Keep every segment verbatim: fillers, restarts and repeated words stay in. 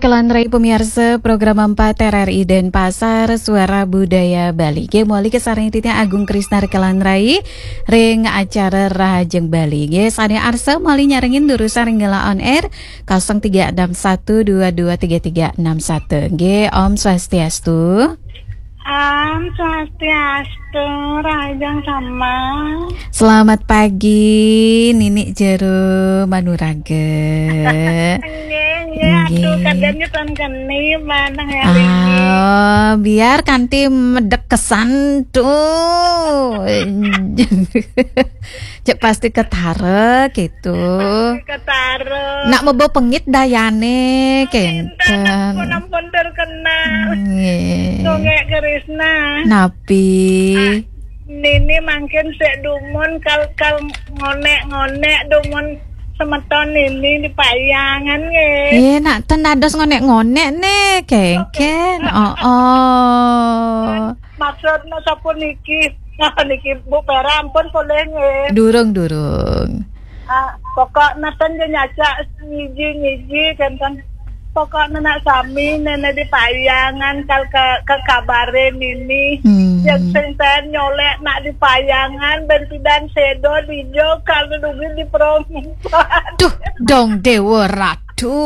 Kalantaran pemirsa program empat R R I Denpasar, Suara Budaya Bali. Nggih, malih kasarengin titiang Agung Krisnar kalantaran ring acara Rahajeng Bali. Nggih, sané arsa malih nyarengin durusang ring galah on air kosong tiga enam satu dua dua tiga tiga enam satu. Nggih, Om Swastiastu. Om Swastiastu, Rahajeng sama. Selamat pagi, Nini jero Manuraga. Nggih, nggih. Aduh, kadén nyetan keni manah ya. Ah, biar kanti medek kesan tuh. Cek pasti ketara gitu. Ketara. Nak mebo pengit dayane kenten. Ampun, ampun terkenal. Nggih. Dongek Krisna. Napi? Ah, Nini mangkin sik dumun kal-kal ngonek-ngonek dumun semeton Nini di payangan nggih. Nggih, nak ten dados ngonek-ngonek nih, kengken. Oh, oh. Maksudnya sapuniki. Niki Bu Pera ampun polih nggih. Durung, durung. Ah, pokoknya ten nggih nyacak ngiji-ngiji kenten. Pokoknya nak sami nene di payangan kal ke, ke kabare Nini. Hmm. Yang sing ten nyolek nak di payangan ben pidan sedo dijo kal dugi di perompan. Duh, dong Dewa Ratu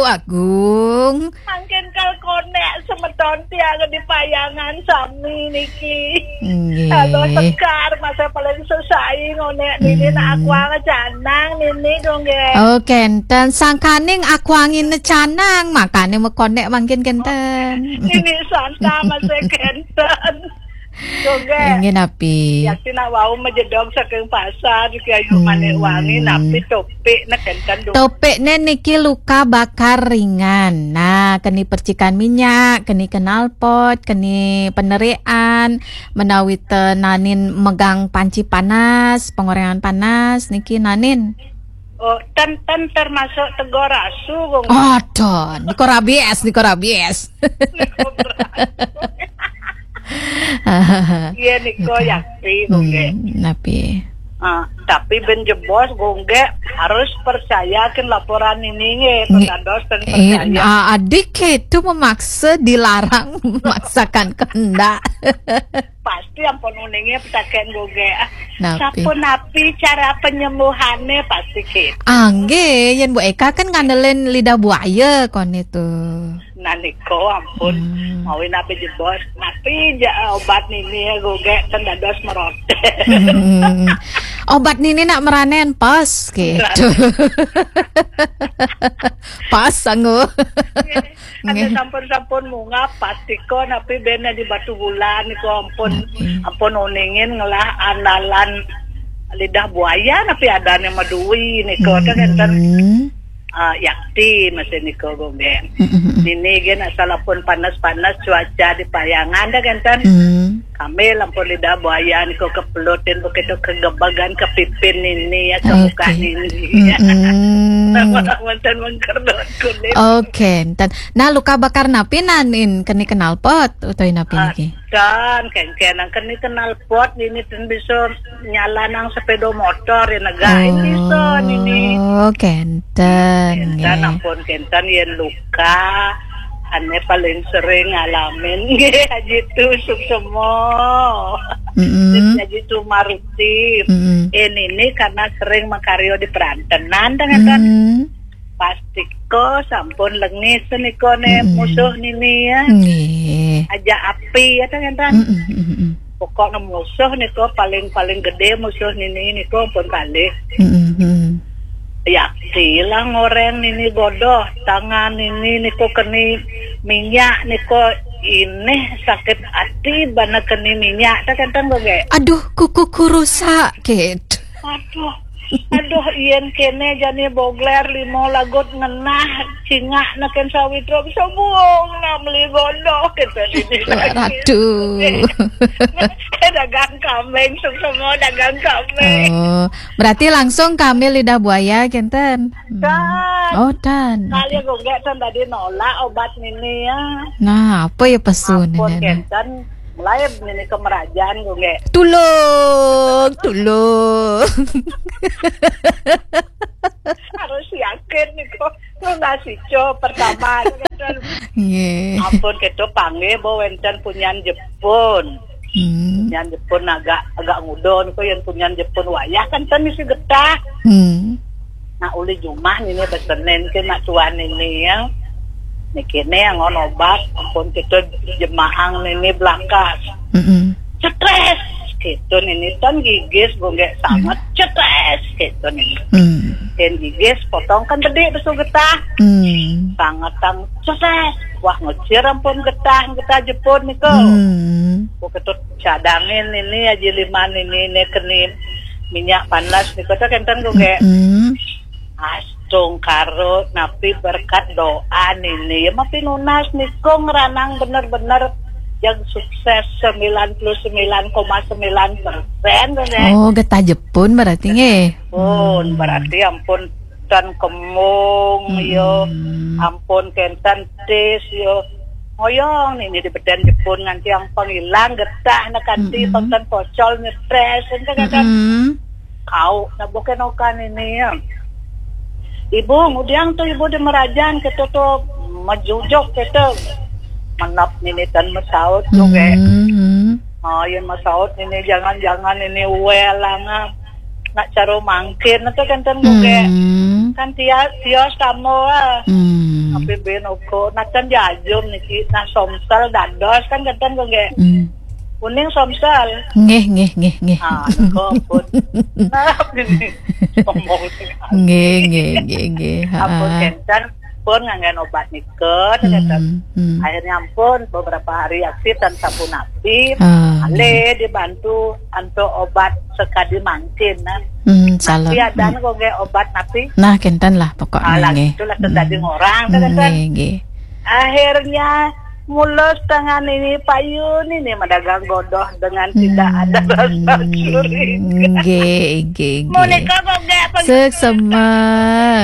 Agung. Mangkin kal konek semeton tiang di payangan sami niki. Nggih. Halo Sekar, masa paling sesai ngonek Nini nak akuang canang Nini dong nggih. Oh, kenten sangkaning akuangin canang, makane mekonek mangkin kenten. Nini santa masa kenten. Dong nggih. Nggih napi? Yakti nak wau majedog saking pasar, Ki Ayu Manik Wangi, napi topik nak kenten dong. Topikne niki luka bakar ringan. Nah, keni percikan minyak, keni knalpot, keni penerian, menawi te nanin megang panci panas, pengorengan panas, niki nanin. Oh, ten, ten termasuk tegor asu, Gung. Oh, ten. Niko rabies, niko rabies. Iya, niko yakti, Gung. Hmm, napi? Ah, tapi ben jebos, Gung, harus percayakin laporan ini, nggih. Nggih. Persados dan eh, percaya. Ah, adik itu memaksa, dilarang, memaksakan kehendak. Pasti ampun uningnya petaken Gung. Napi? Sapunapi cara penyembuhannya pasti gitu. Ah, nggih, yen Bu Eka kan ngandelin lidah buaya kon itu. Nah, niko ampun. Hmm. Mau napi jebos? Napi ja, obat Nini ya, Gung, ten dados merote. Hmm. Obat Nini nak meranen pas gitu. Pas, sanggup. Ada nggih. Sampun-sampun munggah, pasti ko napi ben di Batubulan niko ampun, napi? Ampun uningin ngelah andalan lidah buaya napi adane madui niko, ten kenten. Hmm. Ah, yakti masih niko, Gung. Hmm, hmm, hmm. Nini gen asal ampun panas-panas cuaca di payangan, ten kenten. Hmm. Kami lampun lidah buaya niko kepelutin begitu kegebagan ke pipin Nini ya, ke muka Nini ya. Mm-mm. Wonten mengkerdot kulit. Oke, enten. Nah, luka bakar napi nanin keni knalpot utawi napi niki? Ten, kengken nang keni knalpot Nini ten bisa nyalanang sepeda motor ya negain bisa Nini. Oh, kenten. Kenten nggih. Ampun kenten yen luka. Ane paling sering ngalamin nggih, Haji Tu Suksema. Mm-mm. Haji Tu Maruti. Mm-mm. Eh, Nini karena sering makarya di perantenan, ten kenten. Mm. Pasti ko sampun lengis niko ne musuh Nini ya. Nggih. Aja api ya, ten kenten. Mm-mm, mm-mm. Pokoknya musuh niko paling-paling gede musuh Nini niko pun balik. Mm-mm, mm-mm. Yakti lah ngoreng Nini godoh, tangan Nini niko keni minyak niko, ineh sakit ati bana keni minyak, ten kenten, Gung. Aduh, kukuku rusak, gitu. Aduh, aduh, yen kene jani bogler limo lagut ngenah cingak neken sawitra bisa buung nak meli godoh kenten Nini. Ratu. Dagang kambing, Suksema dagang kambing. Oh, berarti langsung kami lidah buaya kenten. Hmm. Ten. Oh, ten. Kali Gung ten tadi nolak obat Nini ya. Nah, apa ya pesun ampun ini? Kenten, mulai Nini ke merajaan, Gung. Tulung, tulung. Harus Yakin niku. Nunas ijo pertama. Nggih. Ampun, kita panggih, Bu, wenten punyan Jepun. Hmm. Punyan Jepun agak, agak nguda niku, yen punyan Jepun wayah kan ten isi getah. Hmm. Nah, uli jumah nini besenen ke nak tuan nini ya. Niki ne yang obat, ampun kita jemaang nini belakas. Mm-mm. Cetres, gitu nini, tan gigis, gue nggak sangat cetres, gitu nini. Hmm. Dan gigis, potong kan gede besu getah. Hmm. Sangat tang cetres. Wah, ngecir ampun getah, getah Jepun niku. Hmm. Gue ketut cadangin ini aja lima nini, ne keni minyak panas niku, tuh kenten gue kayak, Hmm. Astungkara napi berkat doa nini. Ya, mapi nunas niku ngranang bener-bener yang sukses sembilan puluh sembilan koma sembilan persen, tuh, Nek. Oh, getah Jepun berarti nggih. Pun, Hmm. berarti ampun ten kemung, Hmm. yo. Ampun kenten tis, yo. Ngoyong nini di beden Jepun nganti yang pengilang getah, nah, kanti Hmm. penten pocol nyetres, enten kenten. Hmm. Kau, nah, bukan okan ini ya. Ibu, ngudiang tuh ibu di merajan, kita tuh mejujuk, kita menap nini tan mesaut tuh, kayak. Hmm. Oh, ya mesaut ini, jangan-jangan ini welanga. Nak caro mangkin, itu kan ten gue kayak. Hmm. Kan tias, tias kamu lah. Hmm. Tapi ben oko, nak kan jajum niki, nah somsel dados kan kenten gue kayak. Hmm. Kuning somsel. Nggih, nggih, nggih, nggih. Ah, kok pun. Nah, ini ngomong. Nggih, nggih, nggih, nggih. Ampun Ha. kenten pun nganggen obat nika, kenten. Hmm, hmm. Akhirnya ampun, beberapa hari aksi tan sampun napi, Ah, ale nggih. dibantu antuk obat sekadi mangkin, nah. Hmm, salah. Napi adan Hmm. kok nggih obat napi? Nah, kenten lah pokoknya Alah, nggih. itulah terjadi Hmm. ngorang, Hmm, kenten. nggih, nggih. Akhirnya mulus tangan ini payun ini madagang godoh dengan tidak ada Hmm, rasa curiga. nggih, nggih, nggih. Monika kok nggak apa Seksema,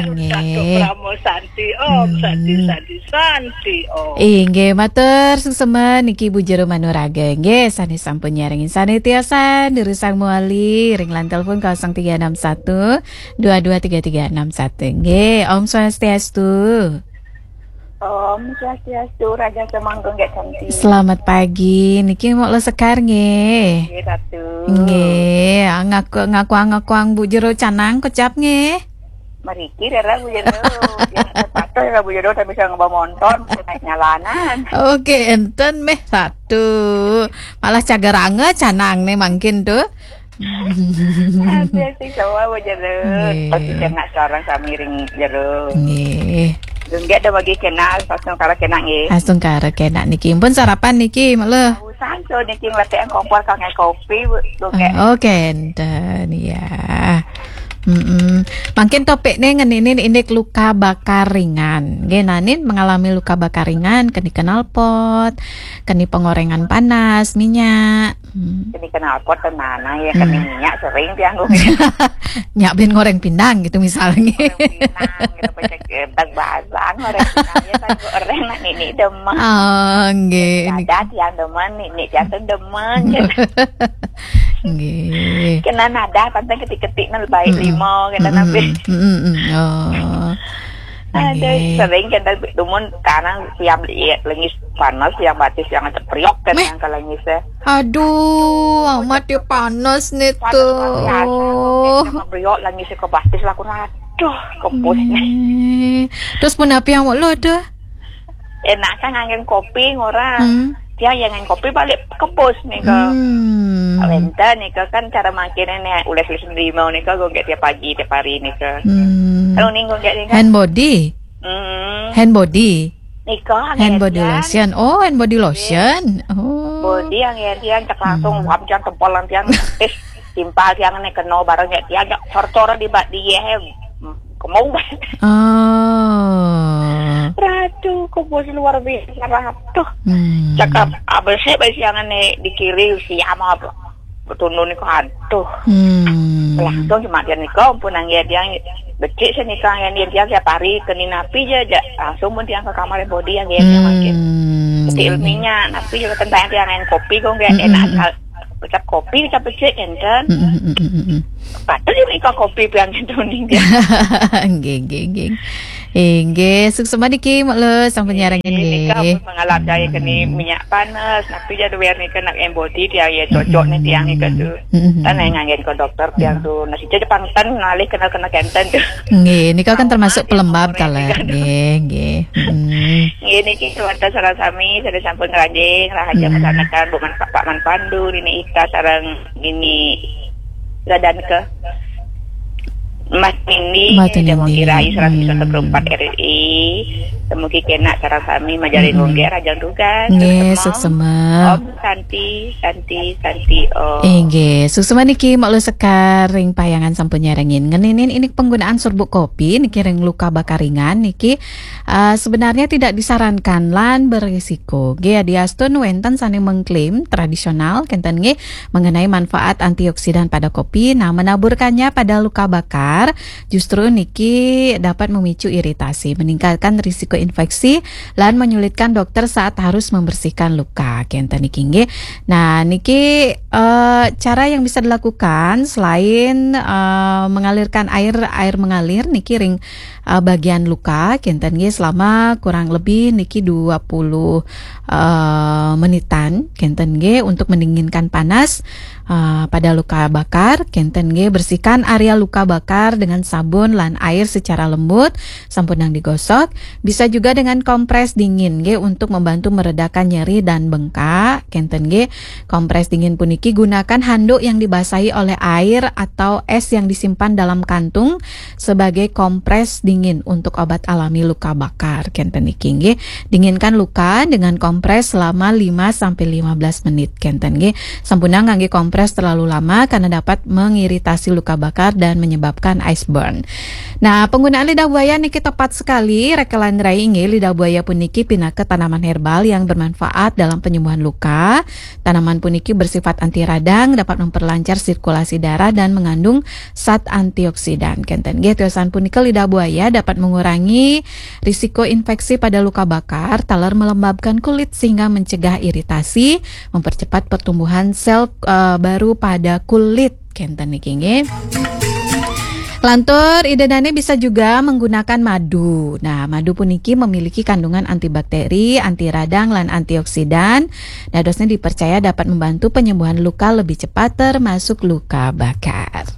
Satu nggih. Pramo Santi Om, Hmm. Santi, Santi, Santi Om. Inggih, matur suksema niki Ibu Jero Manuraga. Nggih, sane sampun nyarengin sane tiasa nirusang muali ring line telepon kosong tiga enam satu dua dua tiga tiga enam satu. Nggih, Om Swastiastu. Om Swastiastu, Raja Semanggung Gek Cantik. Selamat pagi. Niki Mok Lo Sekar nggih. Nggih, Ratu. Nggih, ngaku, ngaku, ngaku Bu Jero Canang kocap nggih. Meriki rera Bu Jero. Ya, patuh ya Bu Jero, tapi bisa ngebawa motor, bisa naik nyalanan. Oke, enten meh satu. Malah cageranga canang nih mangkin tuh. Ada sih sama Bu Jero. Nggih. Tapi jangan seorang sami ring Jero. Nggih. Dunggek ada bagi kenal, langsung kalau kena nggih. Langsung karo kena niki. Pun sarapan niki, Mak Lo. Santo niki ngletek kompor kangge kopi, Bu. Dunggek. Ah, oke, enten, ya. Mm-mm. Mangkin topikne ngeninin indik luka bakar ringan. Nggih, nanin mengalami luka bakar ringan, keni knalpot, keni pengorengan panas, minyak. Hmm. Keni knalpot tenan, ya, keni Hmm. minyak sering tiang, Bu. Nyak ben ngoreng pindang gitu misalnya. Ngoreng pindang, gitu, pecek, eh, bag-bagan, ngoreng pindang, ya, kan, goreng, nak, nini demen. Ah, nggih. Ada tiang demen, nini tiang tuh demen, gitu. Nggih. Kena nada, tantang ketik-ketik, nang baik Mm-mm. lima, kena Mm-mm. nabi. Mm-mm. Oh. Ada Nggih. sering kena dumun, karena tiap iya, lengis panas, yang batis, yang cepriok, kan, Meh. yang kalau lengis, ya. Aduh, amat ya panas nih Panas tuh. Banget, asal, kok, kayak cepriok, lengis ke batis, lah, aku, aduh, kepus. Nggih. Terus pun apa yang lo tuh? Enak kan nganggen kopi ngorang. Hmm. Dia yang nganggen kopi balik kepus nih, kok. Hmm. Wenten nih, kok, kan cara makinnya nih, ules-ules lima nih, kok, gue nggak tiap pagi, tiap hari nih, kok. Hmm. Kalau nih, gue nggak nih, kan. Hand body? Hmm. Hand body? Nih, kok, Hand body angin lotion. Oh, hand body lotion. Oh. Body yang ya, dia cek langsung, Hmm. wap, jangan tempol, nanti yang, eh, timpal, yang nih, kena barang, ya, dia agak cor-cor di bak dia, eh, kemung. Oh. Ratu, kok bos luar biasa, Ratu. Hmm. Cakap, abis saya, abis yang nih, di kiri, siam apa? Betul nih, kok, aduh. Hmm. Langsung cuma dia nih, kok, pun yang ya, dia becik sih nih, kok, yang dia, dia tiap hari, keni napi aja, aja. Langsung pun dia ke kamar body yang dia, dia makin. Hmm. Becik ilminya, napi juga tentang yang kopi, kok, nggak Hmm, enak, hmm, hmm. kecap kopi, kecap becik, enten. Hmm, hmm, hmm, hmm, hmm. Patut juga iko kopi pian itu nih. Nggih, nggih, nggih. Inggih, suksma niki Mak Lus sampun nyarengin Nika nggih. Pun mengalap daya kena minyak panas. Nak tu jadi wear nika nak embody tiang ya cocok nih tiang nika tu. Mm-mm. Tan yang nganggen ke dokter tiang tu. Nasi jadi pangtan ngalih kena kena kenten tu. Nggih, nika kan termasuk pelembab Sama ta le. orang Nggih, nggih. Mm. Nggih niki keluarga sareng sami, sareng sampun ngranjing, rahaja Hmm. masyarakat, Bu Man Pak Man Pandu, Nini Ika sareng Nini Radanke. Mas Nindi, Mas Nindi. Demoki Rai, seratus Hmm. empat R R I. Demoki kenak sareng sami majaring Hmm. ngongge rajang tugas. Nggih, Suksema. suksema. Om Santi, Santi, Santi Om. Inggih, suksema niki Mak Lus Sekar ring payangan sampun nyarengin. Ngeninin ini penggunaan serbuk kopi niki ring luka bakar ringan niki uh, sebenarnya tidak disarankan lan berisiko. Nggih, adiastun wenten sane mengklaim tradisional kenten nggih mengenai manfaat antioksidan pada kopi. Nah, menaburkannya pada luka bakar justru niki dapat memicu iritasi, meningkatkan risiko infeksi lan menyulitkan dokter saat harus membersihkan luka. Kenten niki nggih. Nah, niki uh, cara yang bisa dilakukan selain uh, mengalirkan air air mengalir niki ring uh, bagian luka kenten nggih selama kurang lebih niki dua puluh uh, menitan kenten nggih untuk mendinginkan panas uh, pada luka bakar kenten nggih bersihkan area luka bakar dengan sabun lan air secara lembut sampunang digosok bisa juga dengan kompres dingin nggih untuk membantu meredakan nyeri dan bengkak kenten nggih kompres dingin puniki gunakan handuk yang dibasahi oleh air atau es yang disimpan dalam kantung sebagai kompres dingin untuk obat alami luka bakar kenten niki nggih. Dinginkan luka dengan kompres selama lima sampai lima belas menit kenten nggih. Sampunang ngangge kompres terlalu lama karena dapat mengiritasi luka bakar dan menyebabkan ice burn. Nah, penggunaan lidah buaya niki tepat sekali rekelan rai inggih. Lidah buaya puniki pinaka tanaman herbal yang bermanfaat dalam penyembuhan luka. Tanaman puniki bersifat anti radang, dapat memperlancar sirkulasi darah dan mengandung zat antioksidan. Kenten nggih tiosan punika lidah buaya dapat mengurangi risiko infeksi pada luka bakar, taler melembabkan kulit sehingga mencegah iritasi, mempercepat pertumbuhan sel uh, baru pada kulit. Kenten niki nggih. Lantur, Ida Dane bisa juga menggunakan madu. Nah, madu puniki memiliki kandungan antibakteri, anti radang, lan antioksidan. Dadosnya dipercaya dapat membantu penyembuhan luka lebih cepat, termasuk luka bakar.